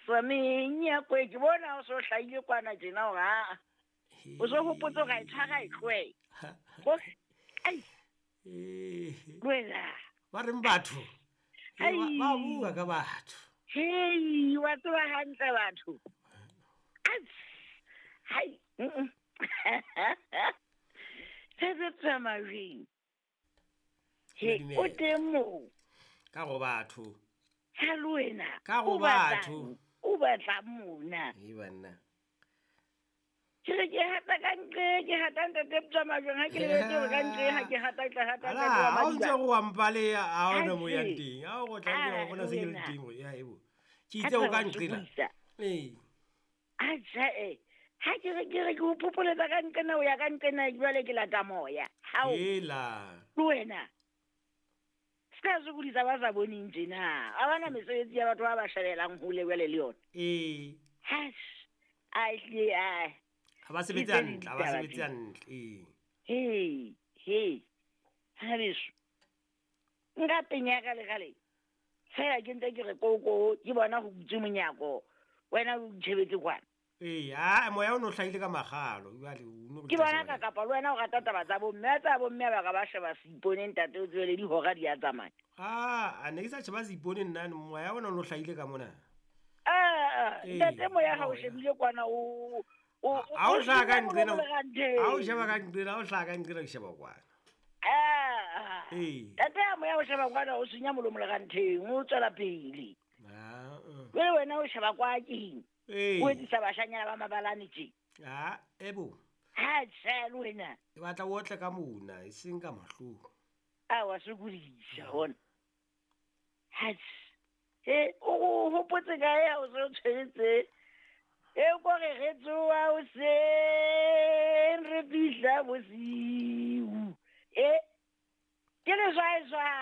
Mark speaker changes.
Speaker 1: sa menyakwe ke bona o so hlahile kwana tjena hore aa o so hopotse hore a e tshwara e tlohela ai wena
Speaker 2: ba reng batho ba bua ka batho
Speaker 1: hei wa tseba hantle batho hai se se tsamayeng he o teng moo
Speaker 2: ka go batho
Speaker 1: ha le wena
Speaker 2: ka go batho
Speaker 1: o batla mona
Speaker 2: e banna
Speaker 1: ke re ke hata ka ntle ke hata ntate tsamajong ha ke lebetse gore ka ntle ha ke hata tla hata
Speaker 2: ntate wa madiba ha o ntse go wampaleya a ona mo yang teng a o go tla ke go bona se ke le teng ya ebo ke itse o ka nqela ee
Speaker 1: a ja e ha ke re ke re ke o phopholetsa ka nqena o ya ka nqena jwale ke lata moya hao
Speaker 2: ela
Speaker 1: le wena se ka sokodisa ba sa boneng tjena a bana mesebetsi ya batho ba ba shebelang hole jwale le yona
Speaker 2: ee
Speaker 1: has a ehlile a
Speaker 2: ga ba sebetse hantle ga ba sebetse hantle ee
Speaker 1: he he ha beso nka penya ka legale fela ke ntse ke re koko ke bona go butse monyako wena o itshebetse kwana
Speaker 2: ee a moya o ne o hlahile ka magalo jale
Speaker 1: ke bona ka kapa le wena o rata taba tsa bomme a tsa bomme ba ka ba sheba seipone ntate o tswele dihora di a tsamaya
Speaker 2: a ne ke sa sheba seipone nna moya ona o ne o hlahile ka mona
Speaker 1: ntate moya ga o shebile kwana o
Speaker 2: a o hlaha ka nqena a o sheba ka nqena a o hlaha ka nqena ke sheba kwana
Speaker 1: ee tate ya moya o sheba kwana o senya molomo le gantheng o tswela pele jale wena o sheba kwa keng o etsisa bashanyana ba mabalane tje
Speaker 2: a ebo
Speaker 1: ha tjhe le wena
Speaker 2: e batla o otle ka mona e seng ka mahlong
Speaker 1: a wa sokodisa gona ha e o hopotse kae ha o se o tshweretse e ko re re tsoa hoseng re fihla bosiu e ke leswaeswae.